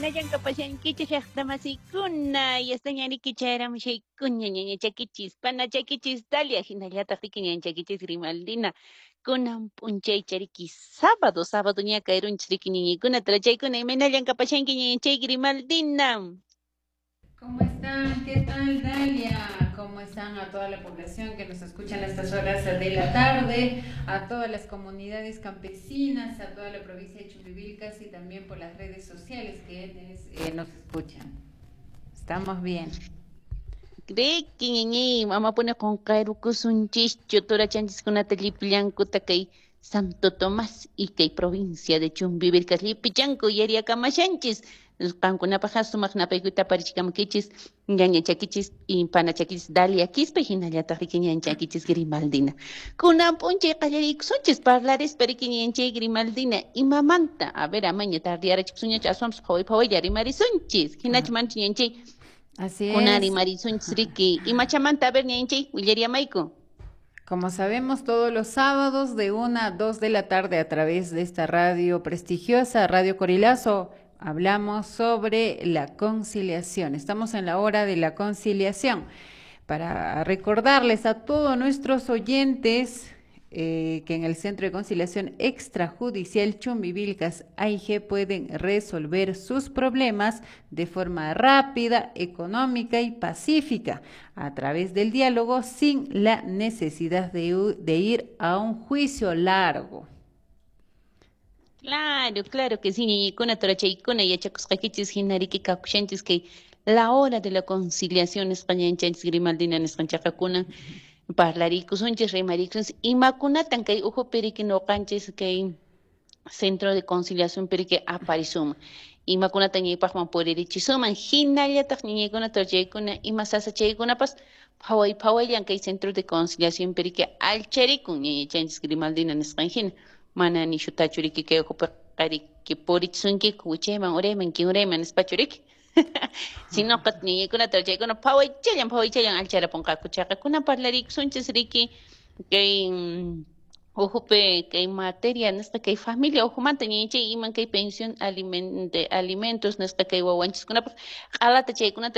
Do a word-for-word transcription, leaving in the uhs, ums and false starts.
Imaynallan kapashankichis llaqtamasikuna, yastañariki chayaramushaykuña ñañachakichis, panachakichis Dalia, hinallataq riki ñañachakichis Grimaldina. Kunan p'unchaychariki sábado, sábado ña kayrunchis riki ñañaykuna, tarachaykuna, imaynallan kapashanki ñañachay Grimaldina. ¿Cómo están? ¿Qué tal, Dalia? ¿Cómo están a toda la población que nos escucha en estas horas de la tarde, a todas las comunidades campesinas, a toda la provincia de Chumbivilcas y también por las redes sociales que eh, nos escuchan? Estamos bien. Riki ñañay, amapuni qunqayrukusunchischu turachanchiskunata llipillankuta kay Santo Tomás y kay provincia de Chumbivilcas llipichanku yariakamashanchis. Qankunapaq sumaq napaykuyta aparichikamunkichis ñañachakichis y panachakichis Dalia Quispe hinallataq riki ñañachakichis Grimaldina. Kunan p'unchay qallariykusunchis parlarispa riki ñañachay Grimaldina imamanta, a ver, amaña tardiyarachikusunñachu aswanpas phaway phawaylla rimarisunchis. Hinachu manchu ñañachay? Así Kunan es. rimarisunchis riki imachamanta, a ver, ñañachay, willariamayku. Como sabemos, todos los sábados de una a dos de la tarde a través de esta radio prestigiosa, Radio Corilazo, hablamos sobre la conciliación. Estamos en la hora de la conciliación. Para recordarles a todos nuestros oyentes eh, que en el Centro de Conciliación Extrajudicial Chumbivilcas A I G pueden resolver sus problemas de forma rápida, económica y pacífica a través del diálogo sin la necesidad de, de ir a un juicio largo. Claro, claro que sí, ñañaykuna, turachaykuna, yachakusqaykichis hina riki kakushanchis kay la hora de la conciliación nisqa ñañachanchis Grimaldina nisqanchaqa kunan parlarikusunchis, rimarikusunchis, imakunatan kay ujupi riki nuqanchis kay centro de conciliación piriki aparisuman, imakunatan ñaypaqman puririchisuman, hinallataq ñañaykuna, turachaykuna, ima sasachaykunapas phaway phawayllan kay centro de conciliación piriki allcharikun ñañachanchis Grimaldina nisqan hina. Mana nishutachu riki kay ujupi qariki purichisunkiku wichayman urayman kinurayman nispachu riki. Sinoqa ñañaykuna turachaykuna phawaychallan phawaychallan allcharapunqaku chayqa kunan parlarikusunchis riki kay ujupi kay materia nisqa kay familia ujumanta ñañachay iman kay pensión aliment-, de alimentos nisqa kay wawanchiskunapaq q'alata chaykunata